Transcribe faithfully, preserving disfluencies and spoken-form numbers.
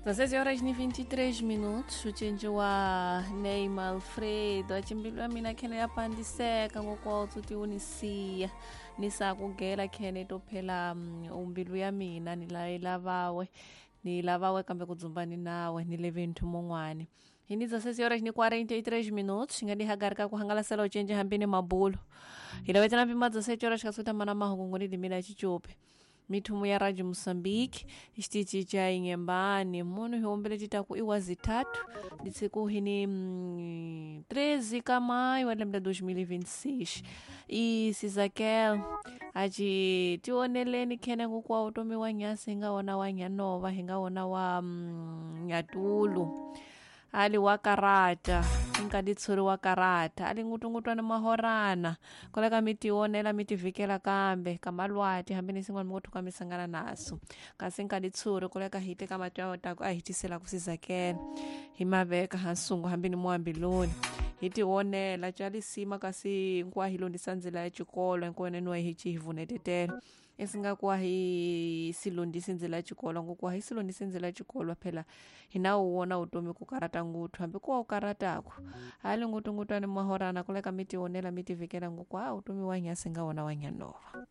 dezesseis horas ni vinte e três minutos ucinci wa Neymar Alfredo acimbilwa ya mina khene ya pandiseka ngokwawutsu ti unisiya ni sakugela khene to phela mm, umbilu ya mina ni la yi lavawe ni lavawe kambe ku dzumba ni nawe ni leve nthu mun'wani hi ni dezesseis horas ni quarenta e três minutos nga dihagarika ku hangalasela ucinci hambi ni mabulo hi lavetela mpima dezessete horas kasuta mana mahungu ngoni dimila chichupe mithumu ya Radio Moçambique xitichi cha Inhambane munhu hi humbele titaku iwa zitatu nditsiku hini mm, treze ka maio wa lembe la dois mil e vinte e seis e Sizakel aci tioneleni khene kukwa utomi wa nyasi hi nga wona wa nyanova hi nga wona wa mm, nyatulu ali wa karata inkadi tshuri wa karata ali ngutungutwana mahorana koleka mi tionela mi tivikela kambe ka malwati hambi ni sin'wana mi ngo thuka mi sangana naso kasi nkadi tshuri koleka hi teka mati ya taku a hi tisela ku sizakela hi maveka hansungu hambi ni muambiloni hi tionela calisima kasi nkuwa hi londisa ndzila ya xikolo nkuweneniwa hi ci hi vunetetela esingakuwa hi silondisi ndzila ya xikolo ngokuwa hi silondisi ndzila ya xikolo phela hi na wu wona vutomi ku karata nguthu hambi kuwa u karataku hali ngutungutwani mahorana kuleka mi tionela mi tivikela ngoku a vutomi wa nyasi nga wona wa nyanova.